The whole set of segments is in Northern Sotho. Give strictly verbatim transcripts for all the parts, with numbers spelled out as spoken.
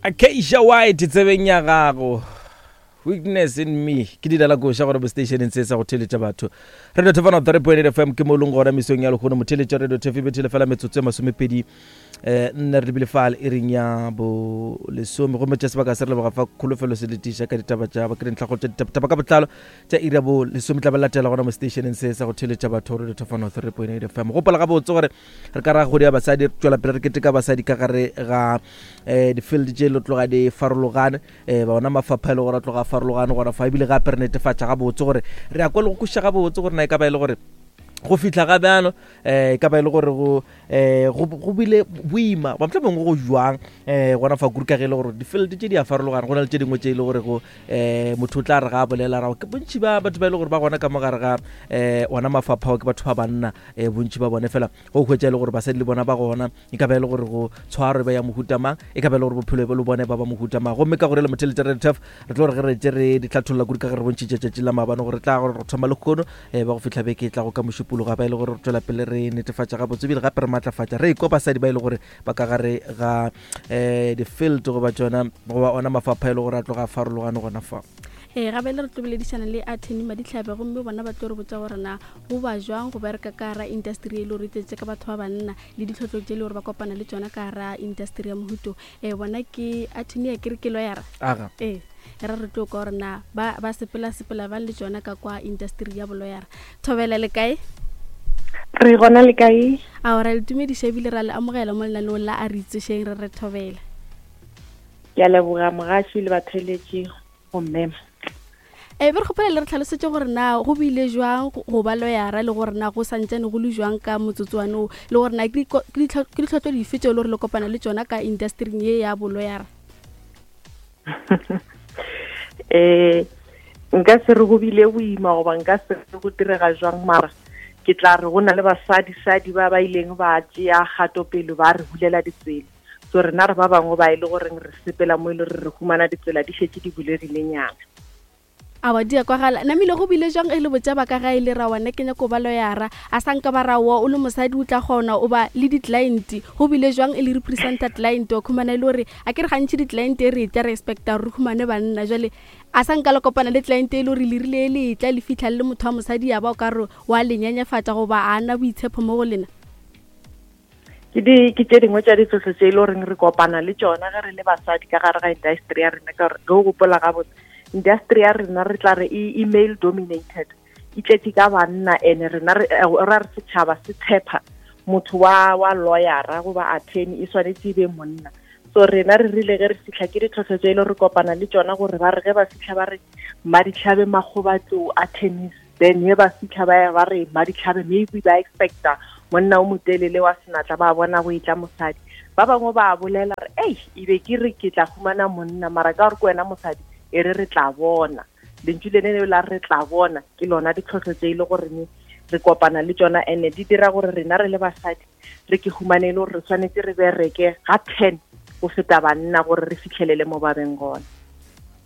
Acacia White tsebeng ya gago, "Weakness in Me". Ke di dala koša gore bo stationeng se sa go theletša batho, Radio Thefana three point eight F M, ke mo e leng gona mesong ya lekgono. Motheletša Radio Thef e bethele fela metsotso e masomepedi um nne re lebile fale e reng ya bo lesome, gomme tša sebaka se re leboga fa Kholofelo se letiša ka ditaba tša ba ke dintlhakgolo tša ditaba ka botlalo tša iri ya bo lesome tla ba latela gona mo stationeng se sa go theletša batho, Radio Thefano three point eight F M. Gopola gabotse gore re ka ra kgodi ya basadi, re tswela pele re keteka basadi ka gare ga um di-field tše le tloga di farologane, um bona mafapha e le gore a tloga a farologane gona fa. Ebile gape re netefatša gabotse gore re ya kwa le go kwešiša gabotse gore na e ka ba e le gore go fihla ga bjalo um e ka ba e le gore go um go bile boima ba motlha mongwe go jwang um gona fa kudu, ka ge e le gore di-field tše di a farologana. Go na le tše dingwe tše e le gore go um motho o tla re ga a bolela rago ke bontši ba batho ba e le gore ba gona ka mo gare ga um ona mafapha ao ke batho ba banna um bontši ba bone fela go hwetša e le gore basadi le bona ba gona. E ka ba e le gore go tshwaro e ba ya mohuta mang, e ka ba e le gore bophelo le bone ba ba mohuta mang. Gomme ka gore le motheletša Radio Turf, re tlo gore ge re tše re di tlhatholla kudu ka ge re bontšhitše tšatši la maabane gore tla gore re thoma lekgono um ba go fihla beke e tla go ka mošupologa, ba e le gore re tswela pele re netefatša gabotse ebile gape re maatlafatša re ikwa basadi ba e le gore ba ka gare ga um di-field goba tsona goba ona mafapha e le gore a tloga a farologane gona fa. Ee, gape le re tlo boledišana le attorney Maditlhabe, gomme bona ba tlo re botsa gore na go ba jwang go bereka ka gara industry e le gore e tletse ka batho ba banna, le ditlhotlho tse e le gore ba kopana le tsona ka gara industry ya mohuto. um bona ke attorney ya kere ke lawyera. Aga. Ee, re re tlo ka gore na ba ba sepela sepela ba le tsona ka kwa industry ya bolawyera. Thobela, le kae? Re gona, le kae? Ao, ra le tumediša ebile ra le amogela mo lenaneong la A Re Itsošeng, re re thobela. Ke a leboga, mogaši le batheletši, go mmema. E be re kgopela le re tlhalosetse gore na go bile jwang go go ba lawyera, le gore na go santsane go le jwang ka motsotsoane o, le gore na ke diko- ke ditlho- ke ditlhotlo dife tseo le gore le kopana le tsona ka industryng ye ya bolawyera. eh nka se re go bile boima goba nka se re go direga jwang, mara ke tla re go na le basadi-sadi ba ba ileng ba tšea kgato pele ba re bulela ditsela. So rena re ba bangwe ba e le goreng re sepela mo e le gore re humana ditsela di šetše di bulegilenyana. Awa, di a kwagala. Namile go bile jwang e le botša ba ka gae le ra wana ke nyako ba lawyera, a sa nka ba ra wa o le mosadi o tla kgona o ba le di-client? Go bile jwang e le representa client wa khumana e le gore a ke re gantši di-client e re tla re expecta gore re khumane banna? Jale a sa nka le kopana le client e le gore le rile le tla le fitlha le motho wa mosadi, ya ba o ka re wa le nyenyefatša goba a na boitshepo mo go lena? ke di ke tše dingwe tša ditlhohlo tše e le goreng re kopana le tšona ge re le basadi ka gare ga industry ya rena, ka gore ge o gopola gabotse, industry ya rena re tla re e e male dominated, e tletše ka banna. Ene rena re eh, ra re setšhaba se tshepa motho wa wa lawyera goba attorney e swanetše e be monna. So rena re rile ge re fitlha, ke ditlhohlo tše e le re kopana le tšona gore ba re ge ba fitlha ba re Maditlhabe Makgobatlou Attorneys, then ye ba fitlha ba ya ba re Maditlhabe, maybe ba expecta monna o motelele wa senatla, ba bona go etla mosadi. Ba bangwe ba bolela re ei, e be ke re ke tla humana monna, mara ka gore ke wena mosadi, e re re tla bona. Lentšu le leo la "re tla bona" ke lona ditlhohlo tše e le goreng re kopana le tšona, and di dira gore rena re le basadi re ke humane e le gore re tshwanetse re bereke ga ten go feta banna gore re fitlhelele mo ba beng gona.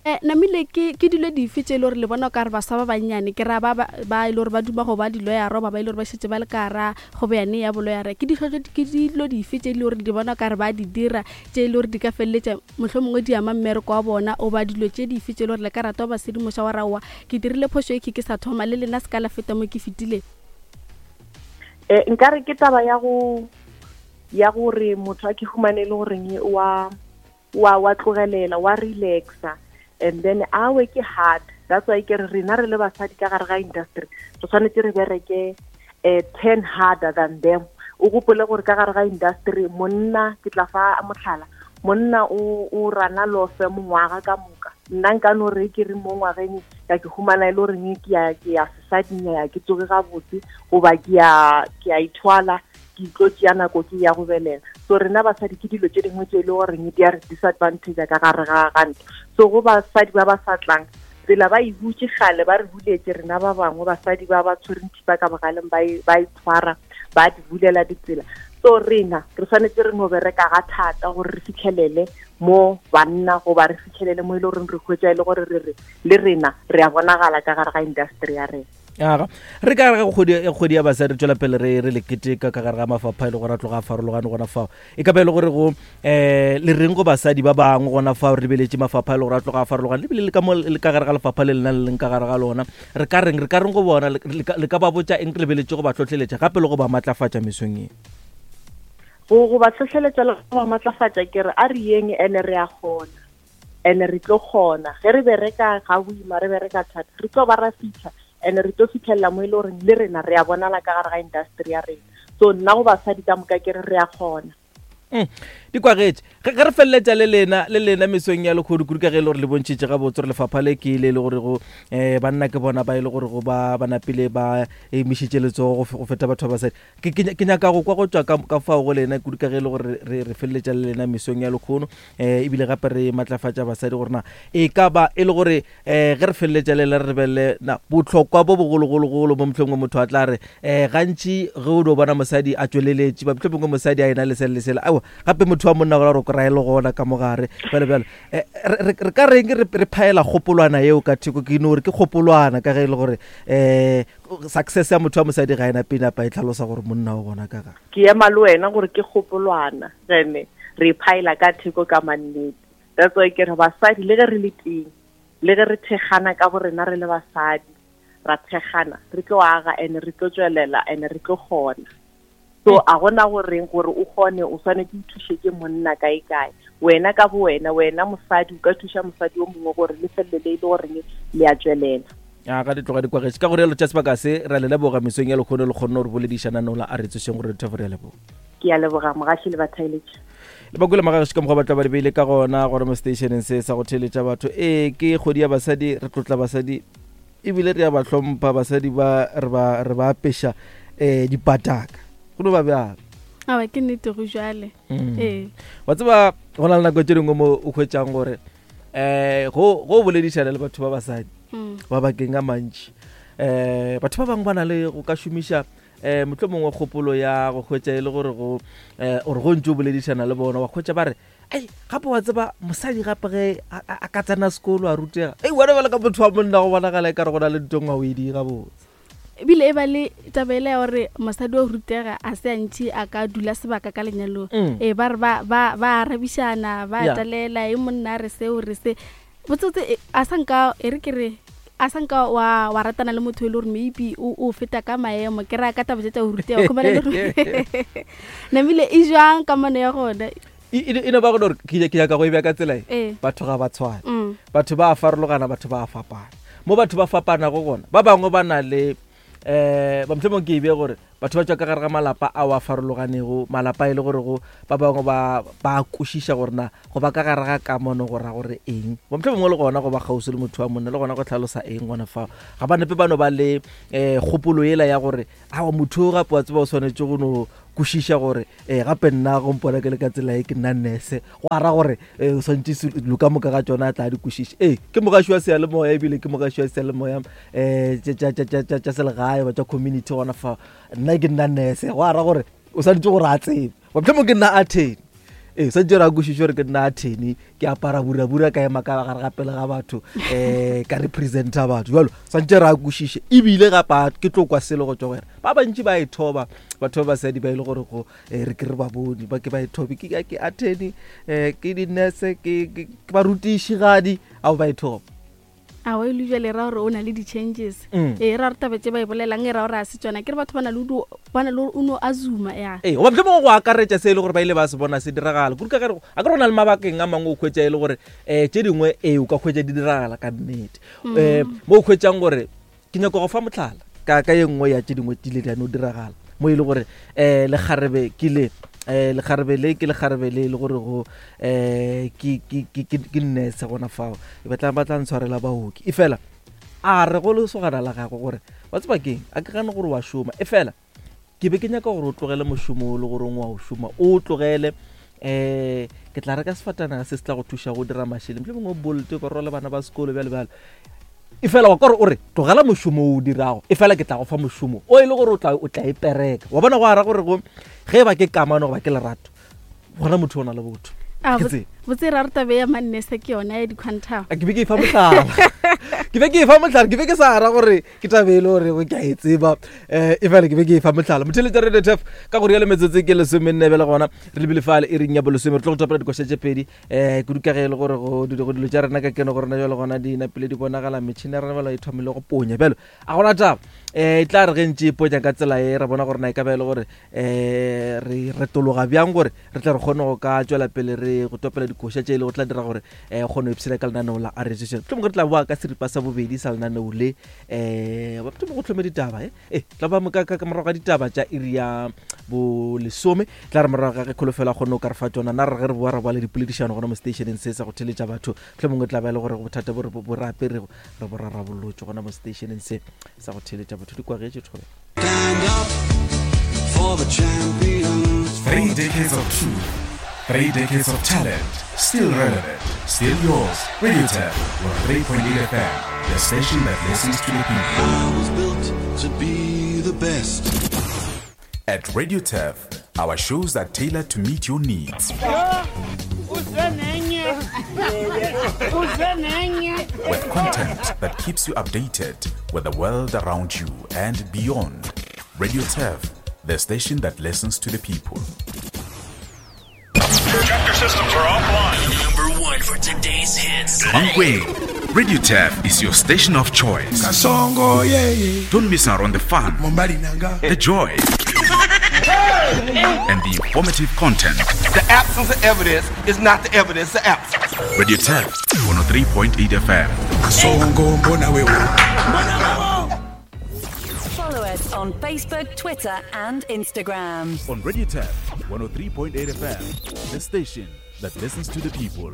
um namile ke ke dilo dife tše e le gore le bona o ka re baswa ba bannyane, ke ra ba ba ba e le gore ba duma go ba dilawyera ba ba e le gore ba šetse ba le ka gara kgobeyane ya bolawyera, ke ditlhotlo ke dilo dife tše e le gore di bona o ka re ba di dira tše e le gore di ka feleletša motlho mongwe di ama mmereko wa bona, o ba dilo tše dife tše e le gore le ka rata go ba sedimoša wa raowa ke dirile phošo e ke ke sa thoma, le lena se ka la feta mo ke fetileng? Eh nkare ke taba ya go ya gore motho a ke humane e le goreng wa wa wa tlogelela, wa relaxa, and then a work hard. That's why ke re rena re le basadi ka gare ga industry re tshwanetse re bereke eh ten harder than them. O gopole gore ka gare ga industry monna, ke tla fa motlhala, monna o o rana law firm ngwaga ka moka. Nna nka no re ke re mo ngwageng ka ke humana e le goreng ke ya ke ya sesading, ya ke tsoge gabotse goba ke ya ke ya ithwala, ke tlo tšea nako ke ya go belega. So rena basadi ke dilo tše dingwe tše e le goreng di a re disadvantage ka gare ga ga ntho. So go basadi ba ba sa tlang, tsela ba e butše kgale, ba re buletše rena ba bangwe basadi ba ba tshwereng thipa ka bogaleng, ba e ba e tshwara, ba di bulela ditsela. So rena re tshwanetse re no bereka ga thata gore re fitlhelele mo banna goba re fitlhelele mo e le goreng re hwetša e le gore re re le rena re a bonagala ka gare ga industry ya rena. Aga re ka gare ga kgwedi ya basadi re tswela pele re re le keteka ka gare ga mafapha e le gore a tloga a farologane gona fao. E ka ba e le gore go um le reng go basadi ba bangwe gona fao re lebeletše mafapha e le gore a tloga a farologane, lebile le ka mo le ka gare ga lefapha le lena le leng ka gare ga lona, re ka reng re ka reng go bona, le ka ba botša eng re lebeletše go ba hlohleletša gape le go ba matlafatša mesong ye? Go go ba hlohleletša le go ba matlafatša ke re a re yeng ene re a kgona, ene re tlo kgona. Ge re bereka ga boima, re bereka thata, re tlo ba ra fitlha, ene re tlo fitlhelela mo e le goreng le rena re a bonala ka gare ga industry ya rena. So nna go basadi ka moka ke re re a kgona. Di kwagetše ge re feleletša le lena le lena mesong ya lekgodu kudu ka ge e le gore le bontšhitše gabotse gore lefapha le ke le le gore go um banna ke bona ba e le gore go ba ba napile ba emišitše letsogo go feta batho ba basadi. Ke nyaka go kwa go tšwa ka fao go lena kudu ka ge e le gore re feleletša le lena mesong ya lekgono, um ebile gape re matlafatša basadi gore na e ka ba e le gore um ge re feleletša le lena re lebelele na bohlokwa bo bogologologolo mo mohlomongwe motho a tla re um gantši ge o dio bona mosadi a tšweleletše, ba mohlomongwe mosadi a ena le sele le sele, aowa gape motho wa monna gore o rae le gona ka mogare bjale bjale. Re ka reng re phaela kgopolwana yeo ka theko? Ke no gore ke kgopolwana ka ge e le gore um success ya motho wa mosadi ga ena pele apa e tlhalosa gore monna o gona ka gare. Ke ema le wena gore ke kgopolwana, ene re phaela ka theko ka mannete. That's why ke re basadi le ge re le teng, le ge re thekgana ka bo rena re le basadi, ra thekgana, re tlo aga ene re tlo tswelela ene re tlo kgona. So a gona goreng gore o kgone o swanetse o thuše ke monna kae kae, wena ka bo wena, wena mosadi o ka thuša mosadi o mongwe gore le felele e le goreng le a tswelela. A ga di tloga di kwagetše ka gore lo tša sebaka se ra le leboga mesong ya lekgono le kgonne gore boledišana nola a re tsošeng gore re re a leboga. Ke a leboga mogaši le batheeletši. Le bakule magaši ka mokgwa ba tla ba di beile ka gona gore mo stationeng se sa go theeletša batho. Ee, ke kgwedi ya basadi, re tlotla basadi ebile re a ba hlompha basadi ba re ba re ba apeša um dipataka. Go no ba bjalo. Aowa ke nnete go jwale. Ee. Wa tseba go na le nako tše dingwe mo o hwetšang gore um go go boledišana le batho ba basadi ba bakeng a mantši, um batho ba bangwe ba na le go ka šomiša um mohlomongwe kgopolo ya go hwetša e le gore go um ore go ntse o boledišana le bona wa hwetša ba re ei gape wa tseba mosadi gape ge a ka tsena sekolo a rutega, ei wena bjale ka motho wa monna go bonagala e ka re go na le ntho ngwe o e di gabotse. Ebile e ba le taba ela ya gore mosadi wa rutega a se antši a ka dula sebaka ka lenyalong. Ee, ba re ba ba ba arabišana, ba talela e monna re seo re se botsotse a sa nka e re ke re a sa nka wa wa ratana le motho e le gore maybe o o feta ka maemo, ke ra ka taba tša go rutega khumana le gore namile e jwang kamano ya gona. E no ba gore ke ke nyaka go e bea ka tsela e, batho ga ba tshwane, batho ba a farologana, batho ba a fapana. Mo batho ba fapanago gona ba bangwe ba na le eh ba mohlomong ke e bea gore batho ba tšwa ka gare ga malapa ao a farologanego, malapa e le gore go ba bangwe ba ba kwešiša gore na go ba ka gare ga kamano go ra gore eng, ba mohlomongwe le gona go ba kgauswi le motho wa monna le gona go tlhalosa eng gona fao. Ga ba nepe ba no ba le um kgopolo ela ya gore aowa motho o gape wa tseba o swanetše go no kwešiša gore um gape nna go mpona ke le ka tsela e ke nna nurse, go ara gore o swantše dilo ka moka ga tšona a tla di kwešiša. Ee, ke mogaši wa seyalemoya ebile ke mogaši wa seyalemoya um tša selegae ba tša community gona fao. Nna ke nna nurse, go ara gore o swanetše gore a tsebe, mohlomong ke nna attorney, ee swanetše gore a kwešiše gore ke nna attorney, ke apara burabura ka ema ka gare ga pele ga batho um ka representa batho jalo, swanetše re a kwešiše. Ebile gape ke tlo kwa selo go tšwa go yena. Ba bantši ba e thoba batho ba basadi ba e le gore go re ke re ba bone ba ke ba e thobe, ke ke attorney, um ke di-nurse, ke barutišigadi ao ba e thoba. Aowa e le jwale ra gore o na le di-changes. Ee, ra gore taba tše ba e bolelang e ra gore a se tsona, ke re batho ba na le ba na le gore o no a zuma ya. Ee, goba mohlomongwe go akaretša se e le gore ba ile ba se bona se diragala kudu ka gare a ke re go na le mabakeng a mangwe o hwetša e le gore um tše dingwe ee o ka hwetša di diragala ka nnete. Um mo o hwetšang gore ke nyaka go fa mohlala ka ka ye nngwe ya tše dingwe tile di a no diragala mo e le gore um lekgarebe ke le eh lekgarebe le ke lekgarebe le le gore go eh ke ke ke ke nurse gona fao, e batla ba tla ntshwarela baoki. E fela a re go lesogana la gagwe gore wa tseba keng, a ke gane gore wa šoma, e fela ke be ke nyaka gore o tlogele mošomo o le gore wa o šoma, o tlogele eh ke tla reka sefatanaga se se tla go thuša go dira mašeleng, mohlomongwe o Bolt o ka rwala bana ba sekolo bjale bjale. E fela wa kore o re tlogela mošomo o o dirago, e fela ke tla go fa mošomo o e le gore o tla o tla e pereka. Wa bona go ara gore go ge ba ke kamano goba ke lerato, gona motho o na le botho. Botse ra re tabe ya mannese ke yona ya di-quantum. Ke be ke e fa mohlala. Ke be ke e fa mohlala, ke be ke sa ra gore ke tabe e le gore ke a e tseba, um e fela ke be ke e fa mohlala. Motheletša Radio Turf ka go rialo metsotso ke lesomenne bjale gona re lebile fale e reng ya bolesome, re tlo go topela dikoša tše pedi um kudu ka ge e le gore go dilo tša rena ka keno go rena jalo gona di napile di bonagala, metšhini ya rena bjalo e thomile go ponya bjalo a gona taba. Um e tla re ge ntše e ponya ka tsela e re bona gore na e ka ba e le gore um re retologa bjang gore re tla re kgone go ka tšwela pele re go topela dikoša tše e le go tla dira gore um kgone go ipshina ka lenaneo la R J. Mohlomongwe re tla boa ka seripa sa bobedi sa lenaneo le, um mohlomongwe go tlhome ditaba e e tla ba ka ka morago ga ditaba tša iri ya bolesome, tla re morago ga ge kholofelo a kgone go ka re fa tšona, na re ge re boa re boa le dipoledišano gona mo stationeng se sa go theletša batho. Mohlomongwe tla ba e le gore bothata bo re bo re aperego re bo rarabolotše gona mo stationeng se sa go theletša batho. Di kwagetše thobe. Stand up for the champions. Three decades of truth, three decades of talent, still relevant, still yours. Radio Turf, one oh three point eight F M, the station that listens to the people. I was built to be the best. At Radio Turf, our shows are tailored to meet your needs. Uze nenye, uze nenye. With content that keeps you updated with the world around you and beyond. Radio Turf, the station that listens to the people. Chapter systems are offline. Number one for today's hits. Mankweng, Radio Turf is your station of choice. Kasongo yeah. Don't miss out on the fun, Mombali nanga. The joy, and the informative content. The absence of evidence is not the evidence of absence. Radio Turf, one oh three point eight F M. Kasongo mbona wewe. Follow us on Facebook, Twitter, and Instagram. On Radio Turf, one oh three point eight F M, the station that listens to the people.